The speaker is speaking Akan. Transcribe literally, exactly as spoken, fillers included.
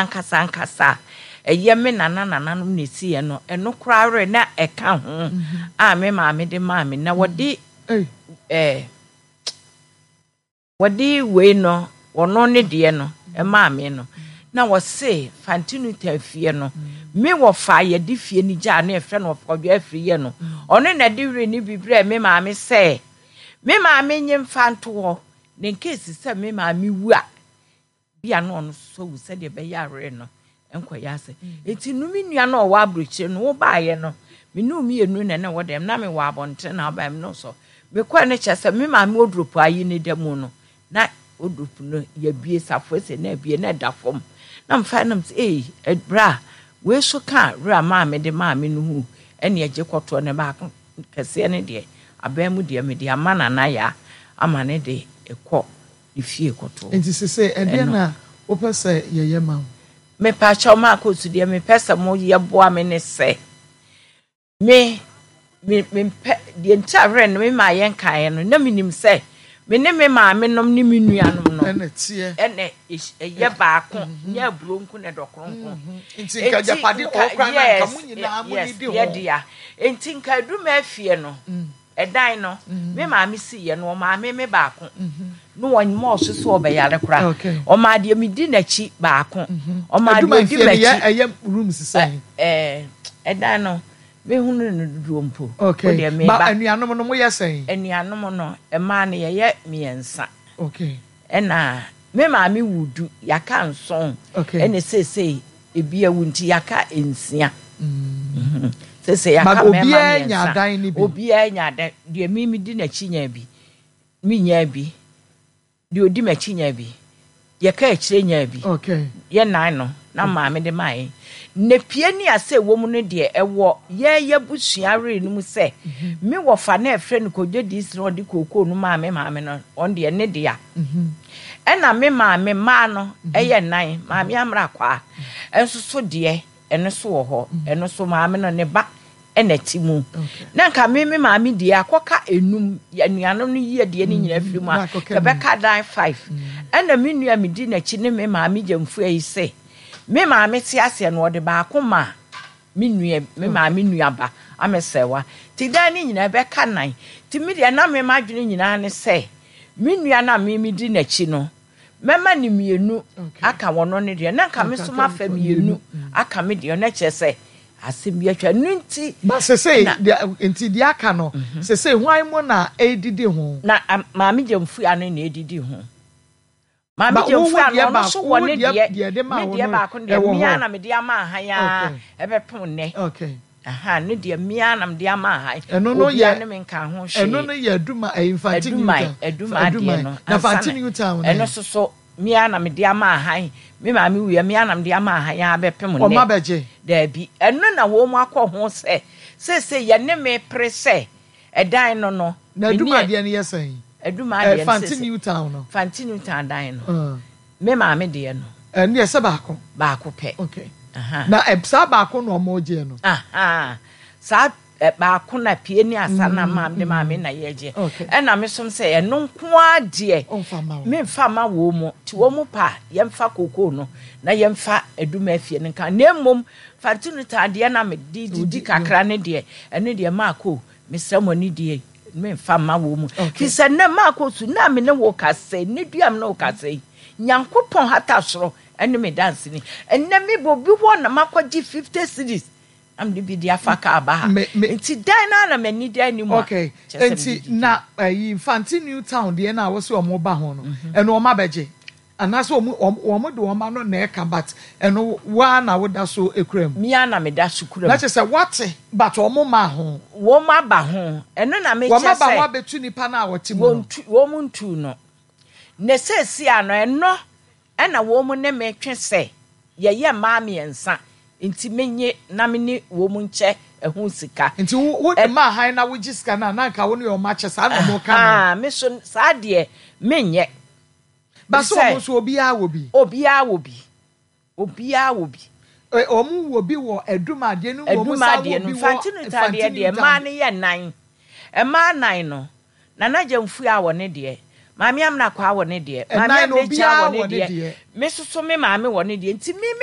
Ankasa ankasa a ɛyɛ me nana nananom na ɛsiiɛ no, ɛno koraa werɛ na ɛka ho a me maame de maa me. Na wɔde ɛɛ wɔde wei no, wɔno ne deɛ no ɛmaa me no, na wɔse Fantinuta fie no, me wɔfa yɛde fie no gyaa no, yɛfrɛ no Ɔfɔdwa Afiri yɛ no, ɔno na de werɛ no bi brɛɛ me maame sɛ me maame nye mfa nto hɔ, na nkesi sɛ me maame wu a, bi a na ɔno nso awu, sɛdeɛ ɛbɛyɛ awerɛ no nkɔyɛ ase. Nti no me nua no a ɔwɔ aburokyire no, wobaeɛ no, me ne mmienu na na ɛwɔ dɛm, na mewɔ abɔnten na wobaeɛ, me no so mekɔɛ no kyerɛ sɛ me maame wardrobe ayi ne da mu no, na wardrobe no yɛbie safoa sɛ na abie na ɛda fam, na mfa nam sɛ ei bra wei so ka werɛ a maame de maame no hu ɛne agye kɔtoɔ ne baako kɛseɛ no deɛ abɛn mu deɛ mede ama Nana Yaa ama ne de ɛkɔ ne fie kɔtoɔ. Nti sese ɛdeɛ na wopɛ sɛ yɛyɛ ma wo? Mepakyɛw, maakɔ so deɛ mepɛ sɛ moyɛ boa me ne sɛ me me mempɛ deɛ nti a werɛ no me maa yɛn kaeɛ no, na menim sɛ me ne me maame nom ne me nuanom no ɛna teɛ ɛna ɛyɛ baako, nyɛ aburo nko na ɛdɔ kronkron. Nti nka agyapade ɔkora na nka mo nyinaa mo ni di ho. Yɛdea nti nka aduma afie no, ɛdan no me maame si yɛ no, ɔmaame me baako no, wɔn mɔɔso so ɔbɛyare koraa, ɔmaa deɛ me di n'akyi baako, ɔmaa deɛ odi m'akyi. Ɛyɛ rooms sɛn? Ɛɛ ɛdan no mehunu no dodoɔ mpo. Okay, ba anuanom no mo yɛ sɛn? Anuanom no, mmaa no yɛyɛ mmiɛnsa. Okay. Ɛna me maame wu du, yaka nson. Okay. Ɛna seesei ebi awu nti yaka nsia. Seesei yaka mmarima obiara nya mmiɛnsa. Adan no bi. Obiara nya adan deɛ, mi mi di n'akyi nya bi, mi nya bi, deɛ odi m'akyi nya bi, yɛka akyire nya bi. Okay. Yɛ nan no na maame de maa yɛn na pie ne ase ɛwɔ mu no deɛ, ɛwɔ yɛn yɛ busua were no mu sɛ me wɔfa na ɛfrɛ no Kodwo Diisi na ɔde kookoo no maa me maame no, ɔno deɛ ne dea. Ɛna me maame mmaa no ɛyɛ nan, Maame Amra Kwaa ɛnso so deɛ ɛno so wɔ hɔ, ɛno so maame no ne ba ɛna ti mu. Na nka me me maame deɛ akɔka enum, anuanom no yie deɛ ne nyinaa firi mu a kɛbɛka dan five. Ɛna me nua me di n'akyi ne me maame gyamfua yi sɛ me maame te aseɛ no, ɔde baako ma me nua, me maame nua ba amesɛwa ti dan ne nyinaa bɛka nan. Ti me deɛ na me ma adwene nyinaa ne sɛ me nua na me me di n'akyi no, mɛma ne mmienu aka wɔn no deɛ, na nka me nso ma fa mmienu aka me deɛ, na kyerɛ sɛ asɛm bi atwa no nti. Ba sese nti deɛ aka no sese hwan mu na edidi ho? Na maame gyamfua no na edidi ho. Maame gyamfua no, ɔno nso wɔ ne deɛ, me deɛ baako deɛ mmea na mede ama ahan a ɛbɛpem nnɛ. Okay. Aha ne deɛ mmea na mede ama ahan. Ɛno no yɛ obiara ne me nka ho hwee. Ɛno no yɛ Aduma ɛyi Nfanti New Town. Aduma adeɛ no. Na Fanti New Town. Ɛno nso so mmea na mede ama ahan, me maame wuya, mmea na mede ama ahan a bɛpem nnɛ. Ɔma bɛgye? Daabi, ɛno na wɔn mu akɔ ho sɛ seesei yɛne me pere sɛ ɛdan no no. Na Aduma adeɛ no yɛ sɛn? Aduma adeɛ no Fanti New Town no. Fanti New Town dan no, me maame deɛ no. Ɛno yɛ sɛ baako. Baako pɛ. Okay. Na saa baako na ɔmo gye no. Saa baako na pie ne asa na maame de maame na yɛgye. Ɛna me som sɛ ɛno nko ara deɛ memfa ma wɔn mu, nti wɔn mu pa yɛmfa kookoo no na yɛmfa Aduma afie no nka, na mmom Fanti New Town deɛ na mede didi kakra ne deɛ, ɛno deɛ maako mesrɛ mo ne deɛ memfa ma wɔn mu, fi sɛ nnɛ maako so na me ne wo kasa yi, ne dua me ne wo kasa yi, Nyankopɔn hata soro ɛne me danseni, ɛnnɛ me bɔ obi hɔ na makɔgye fifty cedis na mede bi de afa kaa ba ha, nti dan na na m'ani da anim a. Okay, nti na ɛyi Nfanti New Town deɛ na wɔsi wɔn ba ho no, ɛno wɔn abɛgye anaasɛ wɔn wɔn de wɔn ano na ɛka, but ɛno waa na woda so ekura mu? Mia na meda so kura mu. Na kyerɛ sɛ wate, but wɔn ma ho. Wɔn aba ho, ɛno na mekyɛ sɛ wɔn aba ho abɛtu nipa na wɔte mu no. Wɔn ntu no na seesia no, ɛno ɛna wɔn ne me twe sɛ yɛyɛ mmaa mmiɛnsa nti menye na me ne wɔn nkyɛ ɛho sika. Nti wo wo de maa han na wogye sika na na nka wo ne wɔn akyɛ saa na wɔn ka no. Me so saa deɛ menyɛ. Ba so wɔn nso obiara wɔ bi. Obiara wɔ bi, obiara wɔ bi. Wɔn wɔ bi wɔ Adum adeɛ no mu, wɔn sa wɔ bi wɔ Fanti New Town deɛ deɛ mmaa no yɛ nan, mmaa nan no, Nana Gyamfua wɔ ne deɛ, Maame Amina Kwaa wɔ ne deɛ, Maame Amekyia wɔ ne deɛ, me soso me maame wɔ ne deɛ, nti me me